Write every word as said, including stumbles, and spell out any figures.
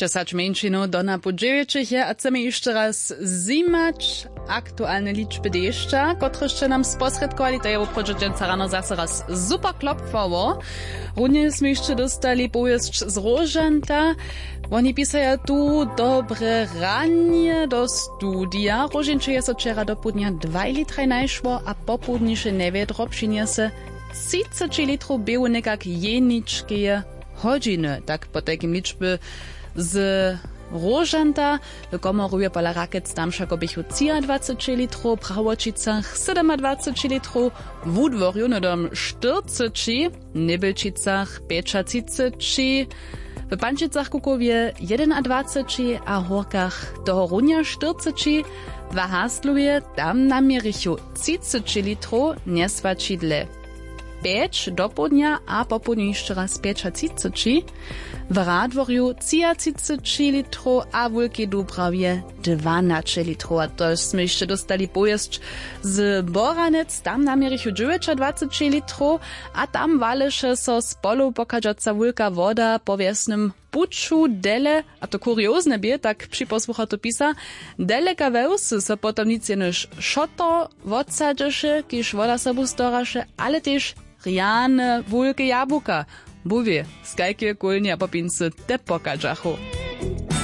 Dźesać mjeńšinow do napoł dźewjećich je a chcemy hišće raz zjimać aktualne ličby dešća, kotrež sće nam sposrědkowali, to je woprawdźe dźensa rano zaso raz super klopfało. Runje smy hišće dóstali powěsć z Róžanta. Woni pisaja tu: Dobre ranje do studija. Róžinče je so wčera dopołdnja dwaj litraj najšło a popołdniše njewjedro přinjese třiceći litrow běhu někak jeničkeje hodźiny. Tak potajkim ličby z Róžanta. W Komorowje pola Rakec tam wšako běchu třiadwaceći litrow, w Prawoćicach sydomadwaceći litrow, w Wudworju hnydom štyrceći, w Njebjelčicach pjećatřiceći, w Pančicach, Kukowje jedynadwaceći a Hórkach tohorunja štyrceći, w Haslowje tam naměrichu třiceći litrow, njeswaćidle pjeć dopołdnja a popołdnju hišće raz pjećatřiceći, w Radworju třiatřiceći litrow a w Wulkej Dubrawje dwanaće litrow. A to smy hišće dóstali powěsć z Boranec, tam naměrichu dźewjećadwaceći litrow a tam waleše so z polow pochadźaca wulka woda po wjesnym puću dele, a to kuriozne bě, tak připosłucha to pisa, deleka we wsy so potom nic jenož šotor wotsadźeše, kiž woda sobu storaše, ale tež rjane, wulke jabłuka, Bóh wě, z kajkeje kólnje a popincy te pochadźachu.